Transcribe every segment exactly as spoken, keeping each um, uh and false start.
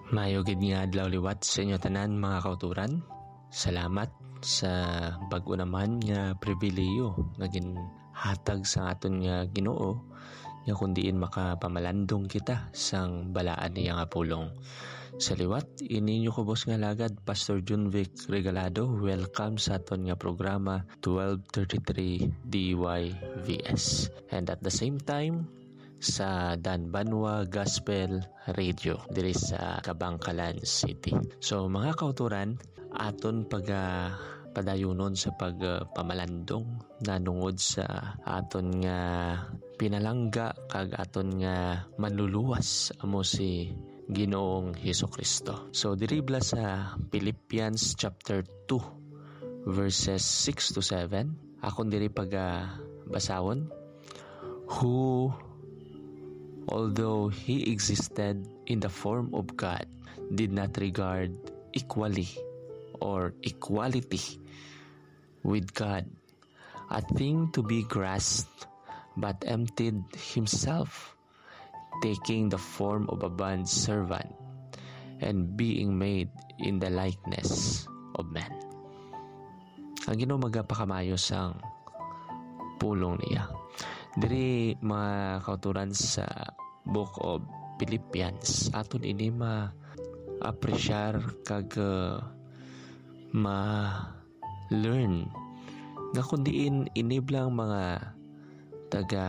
Mayo gid nga adlaw liwat sa inyo tanan, mga kauturan. Salamat sa bag-o naman nga pribilehiyo nga ginhatag sa aton nga Ginoo, nga kun diin makapamalandong kita sang balaan niya nga pulong. Sa liwat, ini inyo kubos nga alagad, Pastor Junvic Regalado. Welcome sa aton nga programa, twelve thirty-three D Y V S. And at the same time, sa Dan Banwa Gospel Radio diri sa Kabankalan City. So, mga kauturan, aton paga-, padayunon sa pagpamalandong nanungod sa aton nga pinalangga kag aton nga manluluwas, amo si Ginoong Hesus-Kristo. So, diri bala sa Philippians chapter two, verses six to seven, akon diri paga-, basahon, who, although he existed in the form of God, did not regard equally or equality with God a thing to be grasped, but emptied himself, taking the form of a bond servant and being made in the likeness of men. Ang Ginoo magapakamayo sang pulong niya. Diri, mga kauturan, sa Book of Philippians, aton ini ma-apresyar kag, uh, ma-learn nga kun diin ini bala nga mga taga,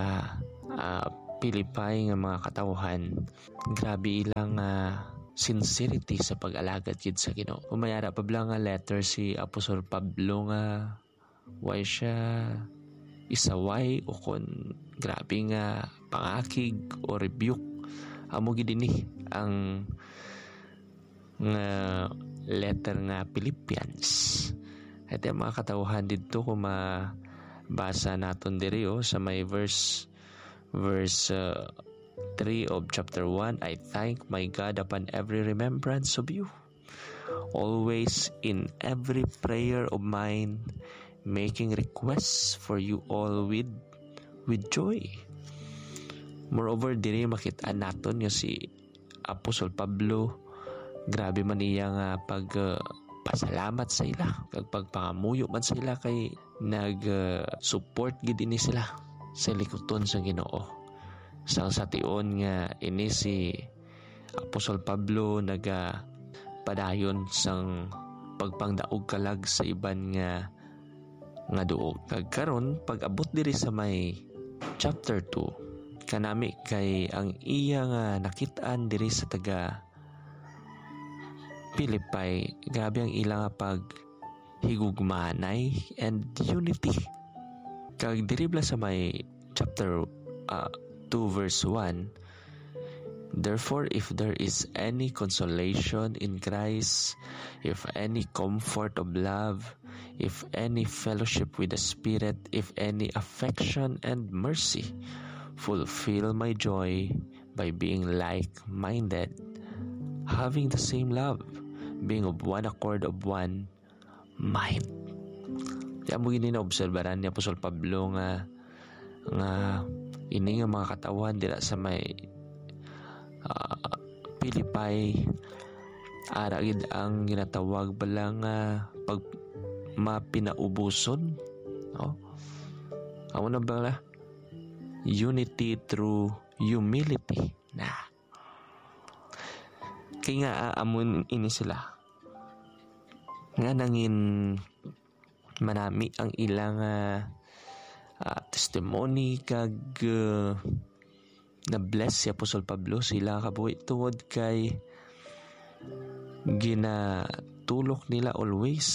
ah, Philippi nga mga katawhan, grabe ilang, ah, sincerity sa pag-alagad gid sa Ginoo. Kung may ara pa bala nga letter si Apostol Pablo nga way siya isaway o kon grabe nga pangakig o rebuke, amo gid ini ang nga letter nga Philippians. Ito ang mga katawhan didto, kung mabasa naton diri, oh, sa may verse, verse, uh, three of chapter one, "I thank my God upon every remembrance of you, always in every prayer of mine, making requests for you all with, with joy." Moreover, diri makita naton nga si Apostol Pablo, grabe man iya nga pag, uh, pasalamat sa ila, kag pagpangamuyo man sa ila, kay nag, uh, support gid ini sila sa likuton sa Ginoo. Sang sa tion nga ini si Apostol Pablo naga padayon sang pagpangdaog kalag sa iban nga, nga duog. Kag karon, pag-abot diri sa may chapter two, kanami kay ang iya nga nakit-an diri sa taga Philippi, grabe ang ila nga paghigugmanay and unity. Kag diri bala sa may chapter, ah, two verse one, "Therefore, if there is any consolation in Christ, if any comfort of love, if any fellowship with the Spirit, if any affection and mercy, fulfill my joy by being like-minded, having the same love, being of one accord, of one mind." Kaya mo gini naobserbaran ni Apostol Pablo nga, nga ini nga mga katawhan dira sa may, ah, Philippi, ara gid ang ginatawag bala nga pag-, mapinaubuson, no? Amo na bala, unity through humility na. Kay nga, ah, amo ini sila. Nga nangin manami ang ilang, ah, ah, testimony kag, ah, na-bless si Apostol Pablo sila kabuhi tungod kay ginatulok nila always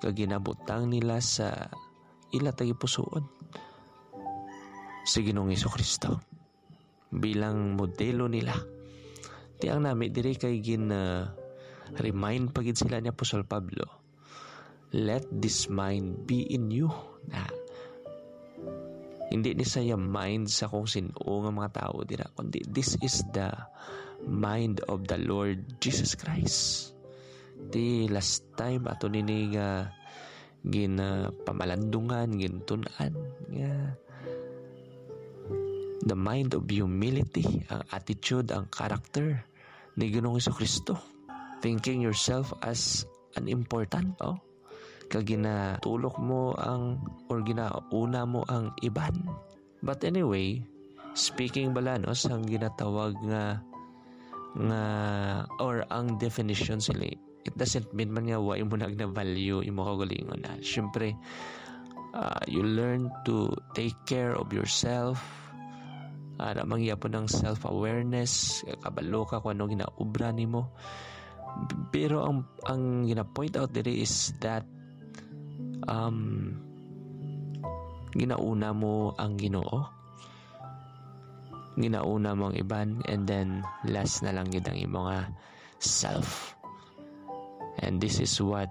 kag ginabutang nila sa ila tagipusoon si Ginoong Jesu-Cristo bilang modelo nila. Ti ang nami diri kay gin, ah, remind pa gid sila ni Apostol Pablo, "Let this mind be in you." Na, hindi ni saya mind sa kung sin-o nga mga tawo dira, kundi this is the mind of the Lord Jesus Christ. Ti last time ato nini nga ginapamalandungan, gintun-an nga the mind of humility, ang attitude, ang character ni Ginoong Jesu-Cristo, thinking yourself as an important, oh, kag ginatulok mo ang, or ginauna mo ang iban. But anyway, speaking bala, no, sang ginatawag nga, nga, or ang definition sila, it doesn't mean man nga wa imo na gina-value imo kaugalingon, ah. Siyempre, ah, you learn to take care of yourself. Ara man gyapon ang self-awareness, kabalo ka kung ano ginaobra nimo. Pero ang, ang gina-point out diri is that, um, ginauna mo ang Ginoo, ginauna mo ang iban, and then last na lang gid ang imo nga self. And this is what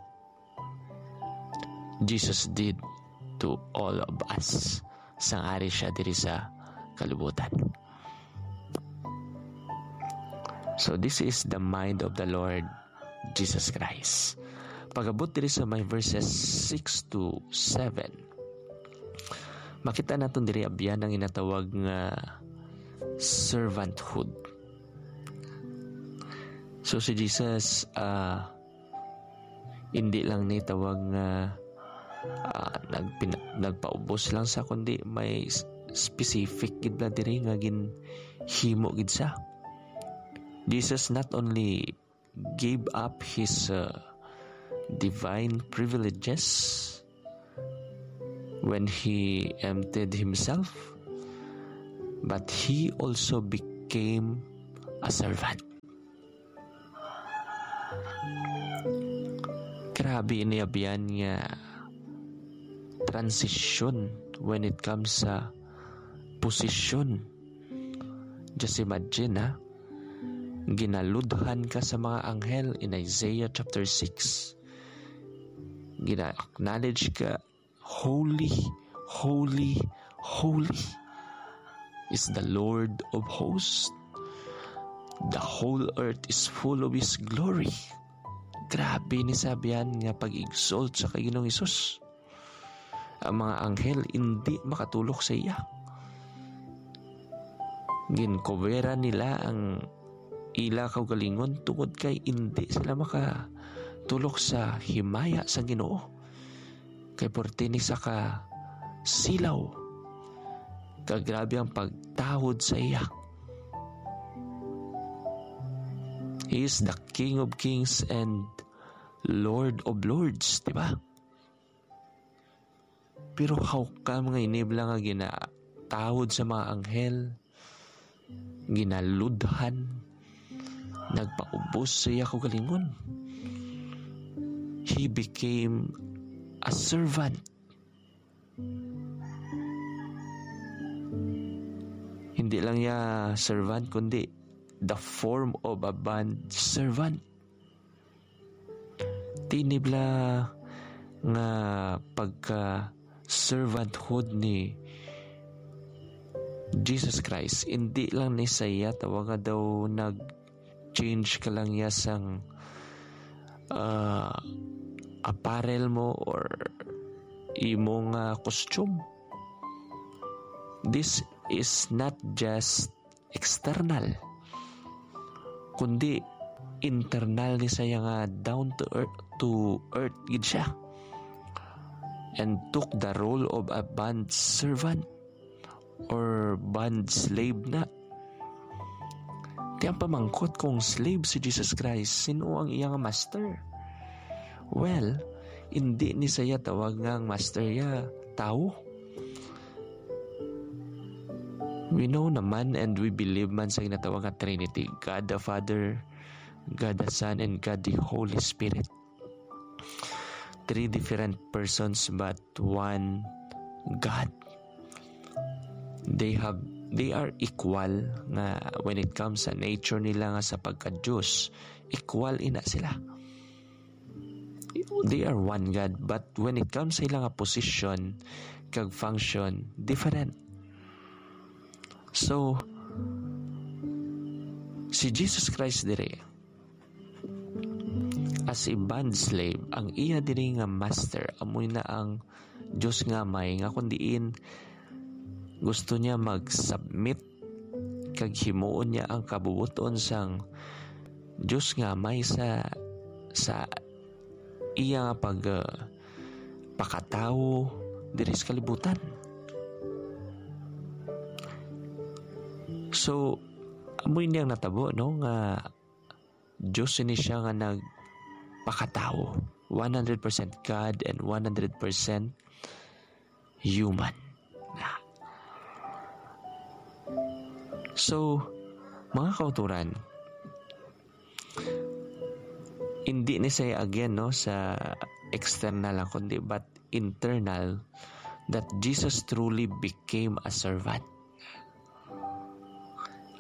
Jesus did to all of us sang ari siya diri sa kalibutan. So this is the mind of the Lord Jesus Christ. Pag-abot diri sa may verses six to seven, makita naton diri abyan ang ginatawag nga servanthood. So si Jesus, ah, hindi lang ni tawag nga, ah, nagpina-, nagpaubos lang sa, kundi may s-, specific gid bala diri nga ginhimo gid sa. Jesus not only gave up his, uh, divine privileges when he emptied himself, but he also became a servant. Grabe ini abyan nga transition when it comes sa posisyon. Just imagine, ha? Ginaludhan ka sa mga anghel in Isaiah chapter six. Gina-acknowledge ka, "Holy, holy, holy is the Lord of hosts. The whole earth is full of His glory." Grabe ni sa abyan nga pag-exalt sa kay Ginoong Hesus. Ang mga anghel indi makatulok sa iya. Ginkubera nila ang ila kaugalingon tungod kay indi sila makatulok sa himaya sa Ginoo. Kay porte ni sa ka silaw, kag grabe ang pagtahod sa iya. He is the King of Kings and Lord of Lords, di ba? Pero how come nga ini bala nga ginatahod sa mga anghel, ginaludhan, nagpaubos sa iya kaugalingon? He became a servant. Hindi lang iya servant, kundi the form of a bond servant. Ti ini bala nga pagka-servanthood ni Jesus Christ, hindi lang ni sa iya tawag nga daw nag-change ka lang iya sang, ah, apparel mo or imong, ah, costume. This is not just external, kundi internal ni sa iya nga down to earth, to earth gid siya, and took the role of a bond servant or bond slave na. Ti ang pamangkot, kung slave si Jesus Christ, sin-o ang iya nga master? Well, indi ni sa iya tawag nga ang master iya tawo. We know naman and we believe man sa ginatawag nga Trinity, God the Father, God the Son, and God the Holy Spirit. Three different persons but one God. They have, they are equal nga when it comes sa nature nila nga sa pagka-Dios, equal ina sila. They are one God, but when it comes sa ilang position kag function, different. So, si Jesus Christ diri, as a bond slave, ang iya diri nga master, amoy na ang Dios nga Amay, nga kung diin gusto niya mag-submit kag himuon niya ang kabubuton sang Dios nga may sa, sa iya nga pag, ah, pakatawo diri sa kalibutan. So, amo ini ang natabo, no, nga Dios ini siya nga nagpakatawo, one hundred percent God and one hundred percent human. So, mga kauturan, hindi ni siya again, no, sa external lang, kundi but internal, that Jesus truly became a servant.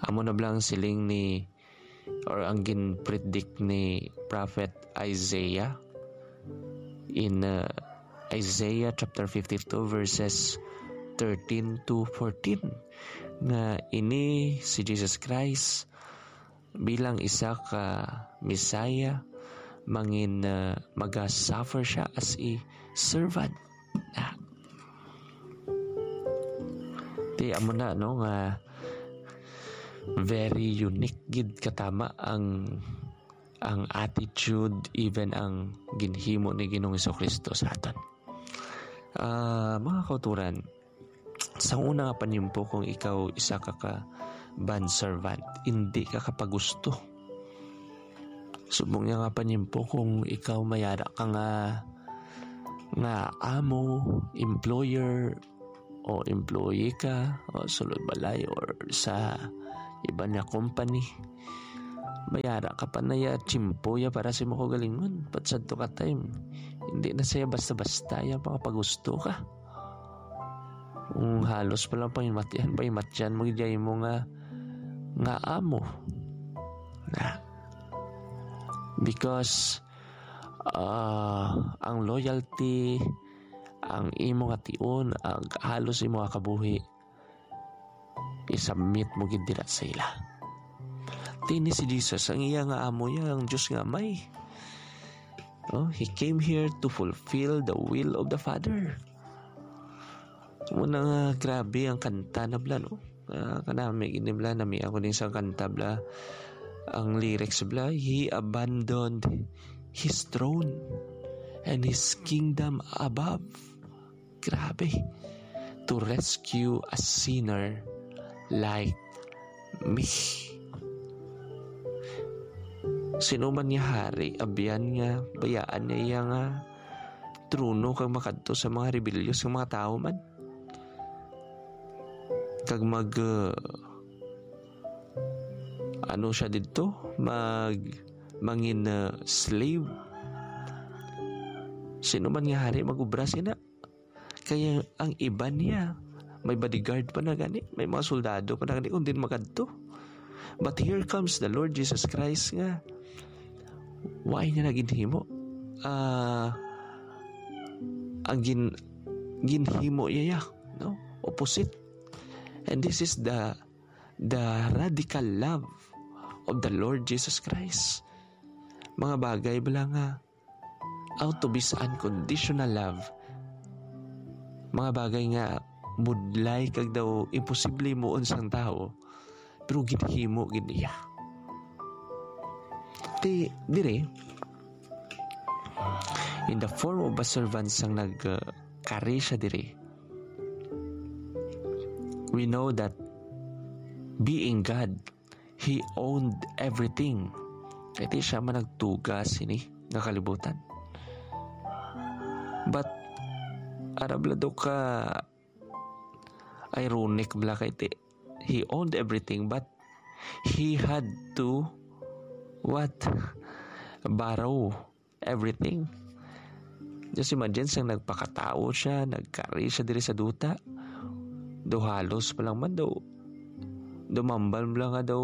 Amo na bala ang siling ni, or ang gin-predict ni Prophet Isaiah in, uh, Isaiah chapter fifty-two, verses thirteen to fourteen, nga ini si Jesus Christ bilang isa ka Messiah, mangin, uh, maga-suffer siya as a servant. Ah. Ti amo na, no, nga very unique gid katama ang, ang attitude, even ang ginhimo ni Ginoong Jesu-Cristo sa aton. Ah, mga kauturan, sa una nga panimpo, kung ikaw isa ka, ka bond servant, hindi ka kapagusto. Subong niya nga panimpo, kung ikaw mayara ka nga, nga amo, employer, o employee ka, o sulod balay, or sa iban nga company, mayara ka pa na ya tiyempo ya para sa imo kaugalingon. But sadto ka time, hindi na siya basta-basta ya makapagusto ka. Kung halos pa lang pangimatian, pangimatian mo gid mo nga, nga amo. Na. Because, ah, ang loyalty, ang imo nga tion, ang halos imo nga kabuhi, i-submit mo gid dira sa ila. Ti ini si Jesus, ang iya nga amo ya, ang Dios nga Amay. Oh, he came here to fulfill the will of the Father. Muna nga, grabe ang kanta na bala, no? Ah, kanami gid ni bala, nami ako din sa kanta bala. Ang lyrics bala, "He abandoned his throne and his kingdom above." Grabe. "To rescue a sinner like me." Sino man nga hari, abyan nga bayaan niya iya nga trono kag makadto sa mga rebellyos nga mga tawo man? Kag mag, uh, ano siya didto? Mag, mangin, uh, slave? Sino man nga hari mag-ubra sina? Kaya ang iban niya, may bodyguard pa na gani, may mga soldado pa na gani kung din makadto. But here comes the Lord Jesus Christ nga, why niya na ginhimo? Ah, ang gin-, ginhimo iya, no? Opposite. And this is the, the radical love of the Lord Jesus Christ. Mga bagay bala nga out of His unconditional love. Mga bagay nga budlay kag daw imposible himuon sang tawo, pero ginhimo gid niya. Ti, dire, in the form of a servant sang nag, uh, kari siya dire, we know that being God, He owned everything. Kay ti siya man nagtuga sini nga kalibutan. But, ara bala daw ka ironic bala kay ti, he owned everything, but he had to, what? Borrow everything. Just imagine, sang nagpakatawo siya, nagkari siya diri sa duta. Daw halos pa lang man daw, dumambal mo lang nga daw,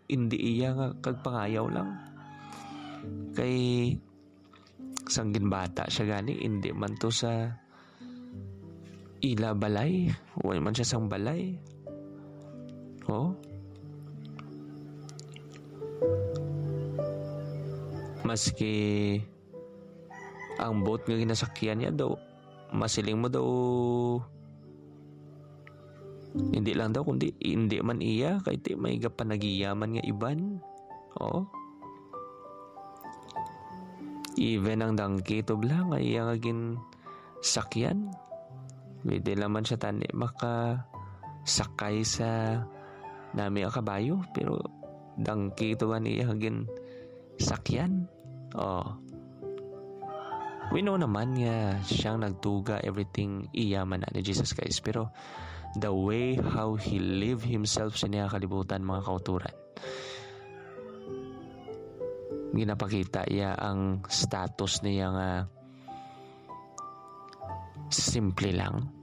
hindi iya nga kagpangayaw lang. Kay sang ginbata siya gani, hindi man to sa ila balay, wala man siya sang balay. Oh? Maski ang boat nga ginasakyan niya daw, masiling mo daw, hindi lang daw, kundi hindi man iya, kay ti may gapanagiyaman nga iban. Oh? Even ang dangki tubla nga iya nga ginsakyan, pwede naman siya tani makasakay sa nami ang kabayo, pero dangki ito ang iya nga ginsakyan. Oh. We know naman nga siyang nagtuga, everything iya man na ni Jesus Christ. Pero the way how he live himself sa niya kalibutan, mga kauturan, ginapakita iya ang status niya nga simple lang.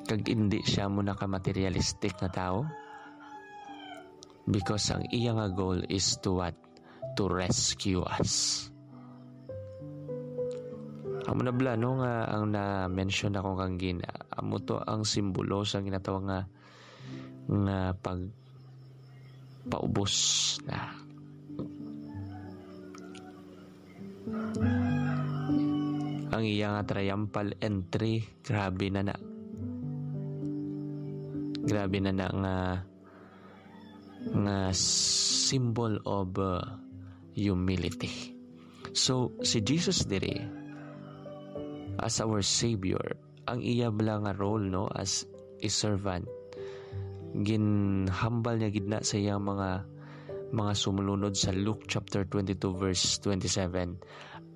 Kag hindi siya mo naka-materialistic nga tao. Because ang iya nga goal is to what? To rescue us. Amo na bala, no, nga ang na-mention ako kang gina, amo to ang simbolo sa ginatawag nga, nga pag paubos na. Ang iya nga triumphal entry, grabe na na. Grabe na na nga, nga symbol of, uh, humility. So, si Jesus diri, as our Savior, ang iya bala nga role, no, as a servant, ginhambal niya gid na sa iyang mga, mga sumulunod sa Luke chapter twenty-two, verse twenty-seven,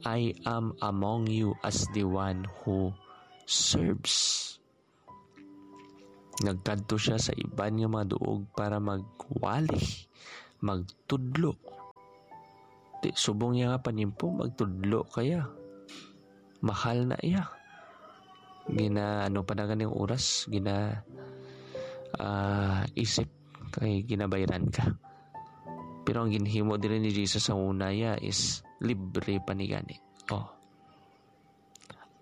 "I am among you as the one who serves." Nagkadto siya sa iban nga mga duog para magwali, magtudlo. Di, subong niya nga panimpo, magtudlo kaya. Mahal na iya. Gina, ano pa na ganing oras, gina, ah, isip kay ginabayran ka. Pero ang ginhimo diri ni Jesus sa una, iya, is libre pa ni gani. Oh.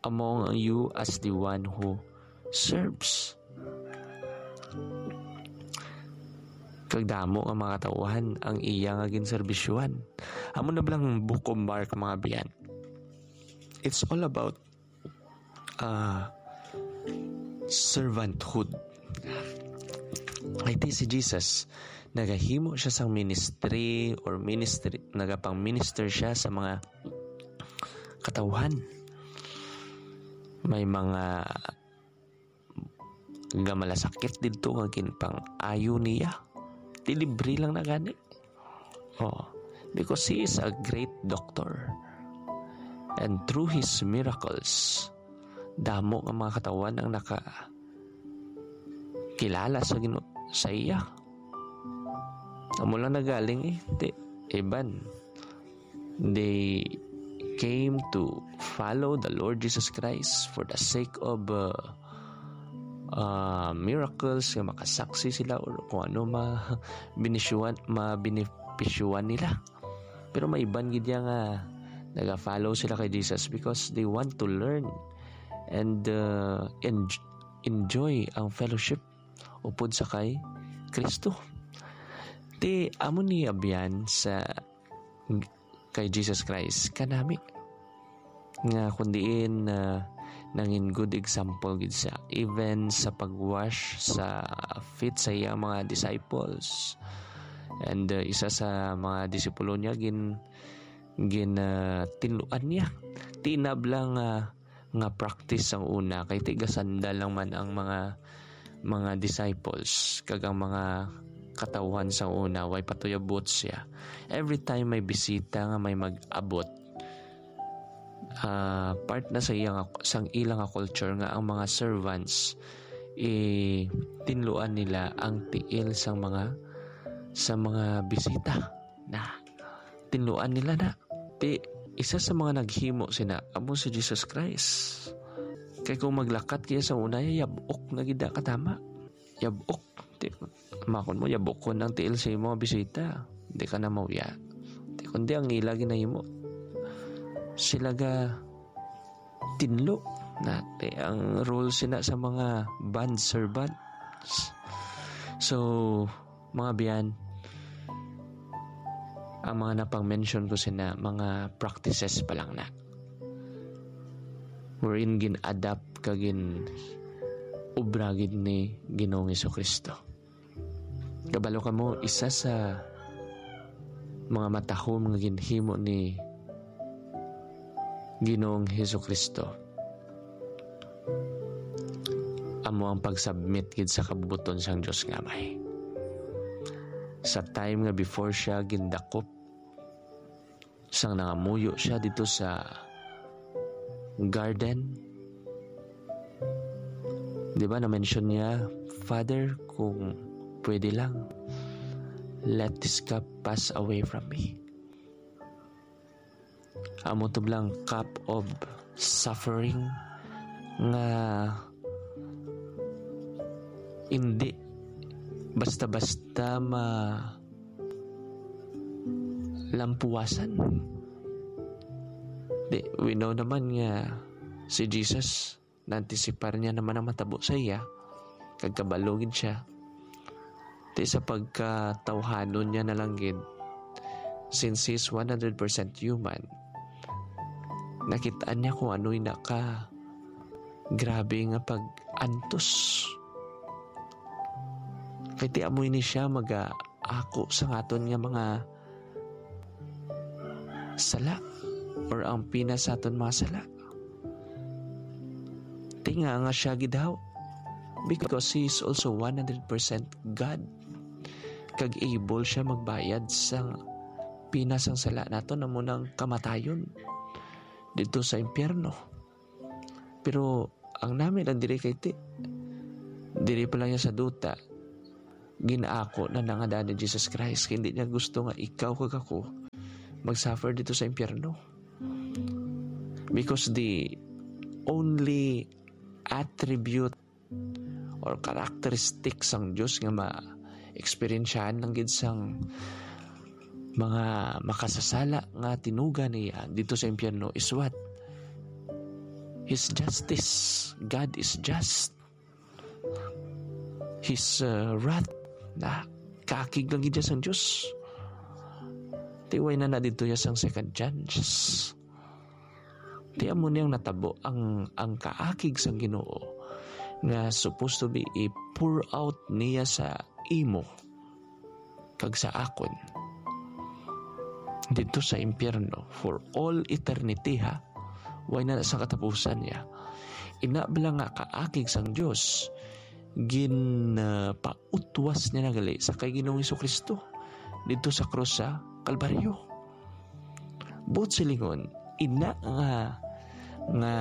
Among you as the one who serves. Kag damo nga mga katawhan ang iya nga ginserbisyuhan. Amo na bala ang Book of Mark, mga biyan. It's all about, ah, servanthood. Ay, ti si Jesus, nagahimo siya sang ministry or ministry, nagapang-minister siya sa mga katawhan. May mga gamalasakit didto nga ginpang-ayo niya. Di libre lang na gani. Oh, because he is a great doctor. And through his miracles, damo nga mga katawhan ang nakakilala sa Ginoo, sa iya. Amo lang nagaling eh. Di, iban. They came to follow the Lord Jesus Christ for the sake of, uh, uh, miracles, nga makasaksi sila or kung ano ma-, binisyohan, mabenepisyuhan nila. Pero may iban gid ya nga naga-follow sila kay Jesus because they want to learn and, uh, en-, enjoy ang fellowship upod sa kay Kristo. Ti amo ni abyan sa kay Jesus Christ kanami nga kun diin, ah, nangin good example gid siya, even sa pag-wash sa feet sa iyang mga disciples. And, ah, isa sa mga disipulo niya gin-, gin-, ah, tinluan niya. Tinabla nga, nga practice sang una, kay ti gasandal lang man ang mga, mga disciples, kag ang mga katawhan sang una, way pa to abot siya. Every time may bisita nga may mag-abot, ah, part na sa iyang, sang ilang culture nga ang mga servants, eh, tinluan nila ang tiil sang mga, sa mga bisita. Na, tinluan nila na. Ti, isa sa mga naghimo sina, amo si Jesus Christ. Kay kung maglakat kaya sa una, yabok na gid na katama. Yabok. Ti, makon mo, yabokon ang tiil sa imo nga bisita. Di ka na mauya. Ti, kundi ang ila ginahimo, sila ga tinlo. Na, ti, ang role sina sa mga bond servants. So, mga biyan, ang mga napang-mention ko sina, mga practices pa lang na. Wherein gin-adapt kag gin-obra gid ni Ginoong Jesu-Cristo. Kabalo kamo, isa sa mga matahom nga ginhimo ni, Ginoong Hesukristo, amo ang pag-submit gid sa kabubuton sang Dios nga Amay. Sa time nga before siya gindakop, sang nangamuyo siya dito sa garden, di ba, na-mention niya, "Father, kung pwede lang, let this cup pass away from me." Amo to blang cup of suffering nga hindi basta-basta ma lampuwasan. Di, we know naman nga si Jesus, naantisipar niya naman ang matabo sa iya, kag kabalo gid siya. Di, sa pagkatawhanon niya na lang gid, since he is one hundred percent human, nakit-an niya kung ano'y naka grabe nga pag-antos. Kay ti amo ini siya mag-aako sa aton nga mga sala, or ang pina sa aton mga sala. Ti nga nga siya gid haw, because he is also one hundred percent God. Kag able siya magbayad sa pina sang sala naton, amo nang kamatayon dito sa impyerno. Pero ang nami lang diri kay ti, diri pa lang niya sa duta, ginaako na na nga ni Jesus Christ. Hindi niya gusto nga ikaw kag ako mag-suffer dito sa impyerno. Because the only attribute or characteristic sang Dios nga ma-eksperyensyahan lang gid sang mga makasasala nga tinuga niya dito sa impyerno is what? His justice. God is just. His, uh, wrath, na kaakig lang gid sang Dios. Tiway na na dito ya sang second chance. Ti amo niyang natabo ang, ang kaakig sang Ginoo nga supposed to be i-pour out niya sa imo kag sa akon dito sa impyerno for all eternity, ha? Way na sa katapusan niya. Ina bala nga kaakig sang Dios, gin, ah, pautwas niya na gali sa kay Ginoong Jesu-Cristo dito sa krus sa Kalbaryo. Buot silingon, ina nga, nga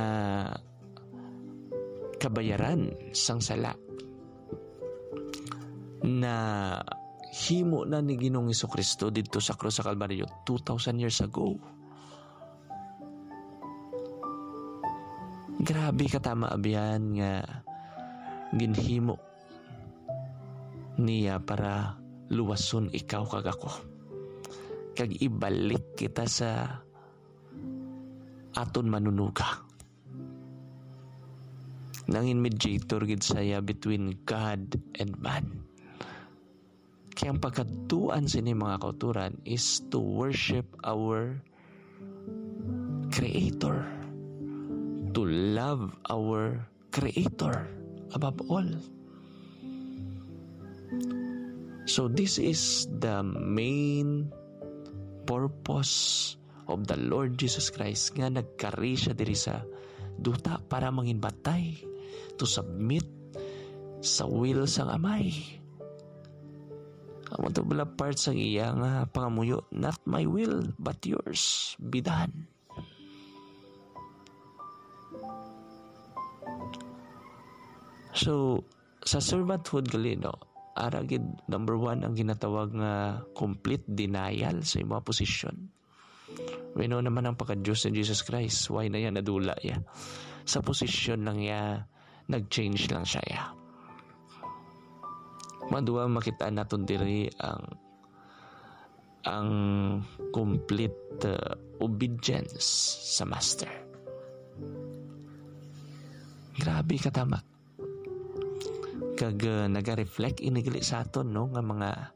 kabayaran sang sala na himo na ni Ginoong Jesu-Cristo didto sa krus sa Kalbaryo two thousand years ago. Grabe katama, abyan, nga ginhimo niya para luwason ikaw kag ako, kag ibalik kita sa aton Manunuga. Nangin mediator gid saya between God and man. Kaya ang pagkadtuan sini, mga kauturan, is to worship our Creator, to love our Creator above all. So this is the main purpose of the Lord Jesus Christ, nga nagkari siya diri sa duta para manginbatay, to submit sa will sang Amay. Amo to bala part sang iya nga pangamuyo, "Not my will, but yours be done." So, sa servanthood gali, no, ara gid, number one, ang ginatawag nga complete denial sa imong posisyon. We know naman ang pagka-Dios ni Jesus Christ. Why na yan? Nadula ya. Sa posisyon lang ya, nag-change lang siya ya. Madua, makita naton diri ang, ang complete, uh, obedience sa master. Grabe katama. Kag, uh, naga-reflect ini gali sa aton, no, nga mga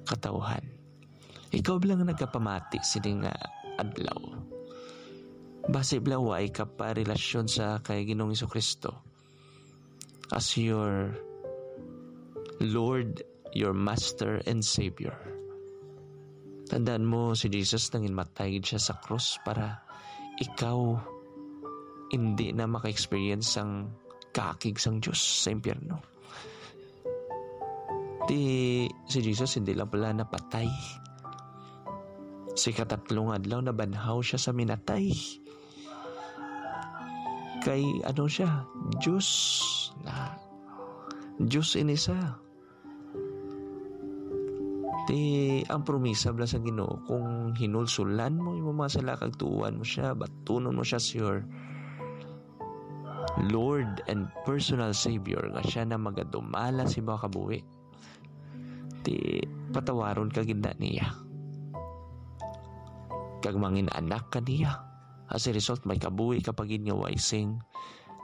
katawhan. Ikaw bala nga nagapamati sini nga adlaw, basi bala wa ka pa relasyon sa kay Ginoong Jesu-Cristo as your Lord, your Master and Savior. Tandaan mo, si Jesus nanginmatay gid siya sa krus para ikaw hindi na maka-experience sang kaakig sang Dios sa impyerno. Ti, si Jesus hindi lang pala napatay. Sa ikatatlo nga adlaw, nabanhaw siya sa minatay. Kay ano siya? Dios na. Dios ini siya. Ti, ang promisa bala sa Ginoo, kung hinulsulan mo imo mga sala kag tuohan mo siya, batunon mo siya sa your Lord and personal Savior, nga siya na magadumala sa imo kabuhi, ti patawaron ka gid na niya, kag mangin anak ka niya. As a result, may kabuhi ka pa gid nga way sing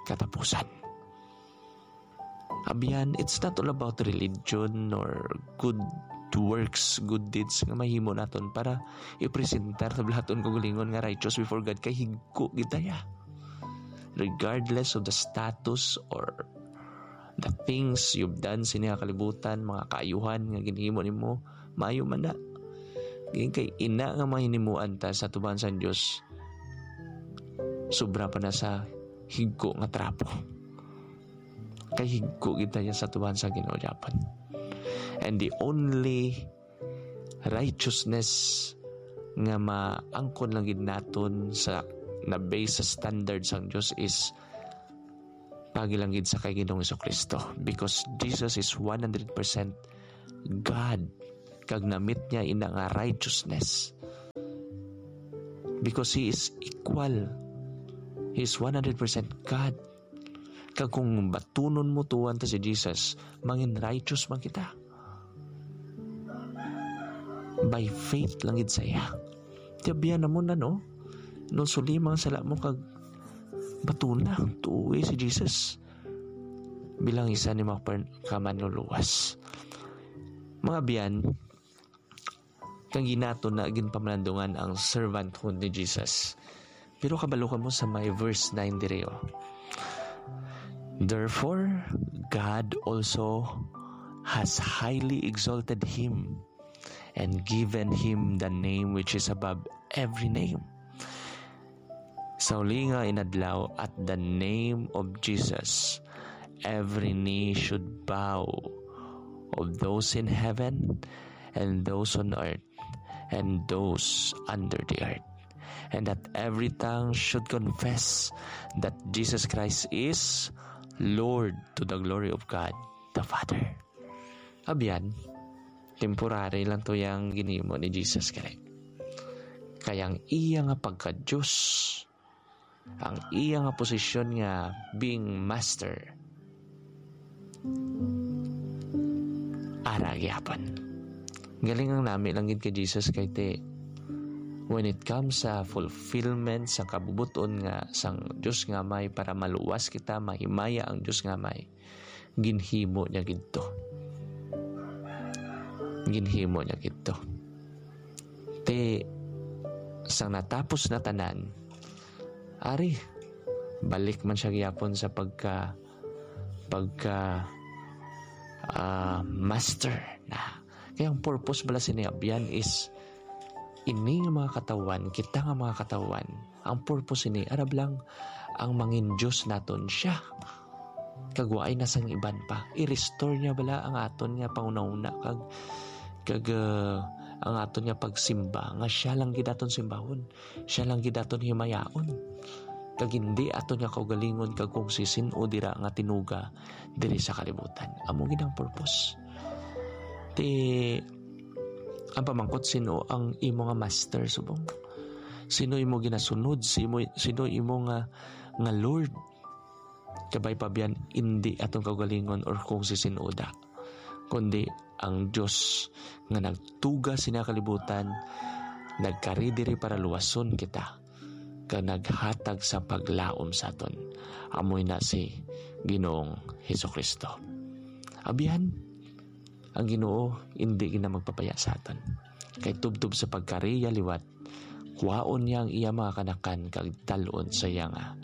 katapusan. Abyan, it's not all about religion or good works, good deeds nga mahimo naton para ipresentar sa balaton kaugalingon nga righteous before God, kay higko gid ta ya. Regardless of the status or the things you've done sini nga kalibutan, mga kaayuhan nga ginhimo nimo, maayo man na. Gid kay ina nga mahimuan ta sa atubangan sang Dios, sobra pa na sa higko nga trapo. Kay higko gid ta ya sa atubangan sang Ginoo gihapon. And the only righteousness nga maangkon lang gid naton sa na-base sa standard sang Dios is paagi lang gid sa kay Ginoong Jesu-Cristo, because Jesus is one hundred percent God, kag namit niya ina nga righteousness, because He is equal. He is one hundred percent God. Kag kung batunon mo tuohan ta si Jesus, mangin righteous man kita by faith lang gid sa iya. Ti abyan na mo na, no? Nulsoli mga sala mo kag batuna, tuohi si Jesus bilang isa ni mga per-, kamanluluwas. Mga abyan, kang ginato na ginpamalandungan ang servanthood ni Jesus. Pero kabalo ka mo sa may verse nine diri, oh. Therefore, God also has highly exalted him and given him the name which is above every name. Sa uli nga inadlaw, at the name of Jesus, every knee should bow, of those in heaven and those on earth and those under the earth, and that every tongue should confess that Jesus Christ is Lord, to the glory of God the Father. Abyan, temporary lang to yang ginhimo ni Jesus kay. Kay ang iya nga pagka-Dios, ang iya nga posisyon nga being master, ara gyapon. Galing ang nami lang gid kay Jesus kay ti, when it comes sa fulfillment sa kabubot-on nga sang Dios nga may para maluwas kita, mahimaya ang Dios nga may, ginhimo niya gidto. Ginhimo niya gidto. Ti, sang natapos na tanan, ari, balik man siya gyapon sa pagka, pagka, ah, master na. Kaya ang purpose bala sini abyan is ini nga mga katawhan, kita nga mga katawhan, ang purpose ini, arab lang ang mangin Dios naton siya. Kag waay na sang iban pa. I-restore niya bala ang aton nga panghunahuna kag, kag, ah, ang aton nga pagsimba nga siya lang gid aton simbahon, siya lang gid aton himayaon. Kag hindi aton nga kaugalingon kag kung sisin-o dira nga tinuga diri sa kalibutan. Amo gid ang purpose. Ti, ang pamangkot, sino ang imo nga master, subong? Sino imo ginasunod? Sino, sino imo nga, nga Lord? Kabay pa biyan, indi atong kaugalingon or kung sisin-o da, kundi ang Dios nga nagtuga sini nga kalibutan, nagkari diri para luwason kita, kag naghatag sa paglaom sa aton. Amoy na si Ginoong Jesu-Cristo. Abyan, ang Ginoo indi gid na magpabaya sa aton. Kay tubtob sa pagkariya liwat, kuhaon niya ang iya mga kanakan kag dal-on sa iya nga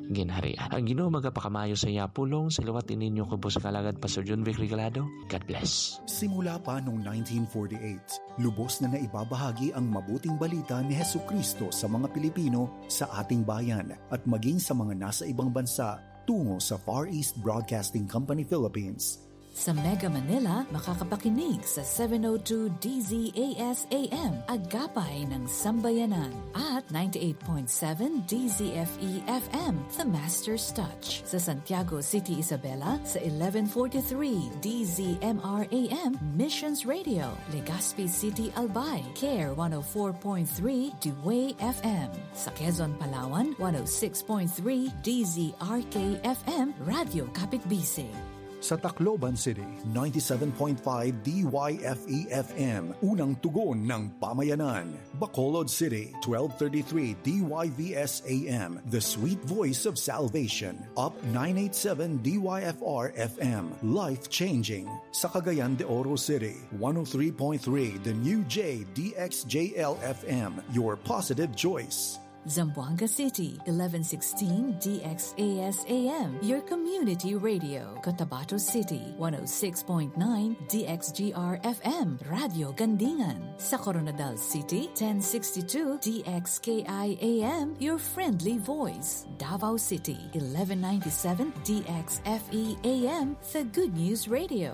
Ginharian. Ang Ginoo magapakamayo sa iya pulong sa liwat ininyo kubos kalagad, Pastor John Vic Regalado. God bless. Simula pa noong nineteen forty-eight, lubos na naibabahagi ang mabuting balita ni Jesucristo sa mga Pilipino sa ating bayan at maging sa mga nasa ibang bansa tungo sa Far East Broadcasting Company Philippines. Sa Mega Manila, makakapakinig sa seven oh two D Z A S A M, Agapay ng Sambayanan, at ninety-eight point seven D Z F E F M, The Master's Touch. Sa Santiago City, Isabela, sa eleven forty-three D Z M R A M, Missions Radio, Legazpi City, Albay, Care one oh four point three D W A F M. Sa Quezon, Palawan, one oh six point three D Z R K F M, Radyo Kapitbisig. Sa Tacloban City, ninety-seven point five D Y F E F M, unang tugon ng pamayanan. Bacolod City, twelve thirty-three D Y V S A M, the sweet voice of salvation. Up nine eight seven D Y F R F M, life-changing. Sa Cagayan de Oro City, one oh three point three The New J D X J L F M, your positive choice. Zamboanga City, eleven sixteen D X A S A M, your community radio. Cotabato City, one oh six point nine D X G R F M, Radyo Gandingan. Sa Koronadal City, ten sixty-two D X K I A M, your friendly voice. Davao City, eleven ninety-seven D X F E A M, the Good News Radio.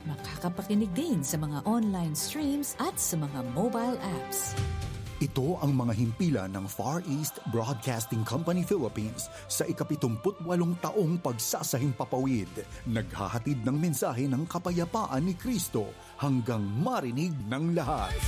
Makakapakinig din sa mga online streams at sa mga mobile apps. Ito ang mga himpilan ng Far East Broadcasting Company Philippines sa ikapitumput walong taong pagsasahimpapawid. Naghahatid ng mensahe ng kapayapaan ni Kristo hanggang marinig ng lahat.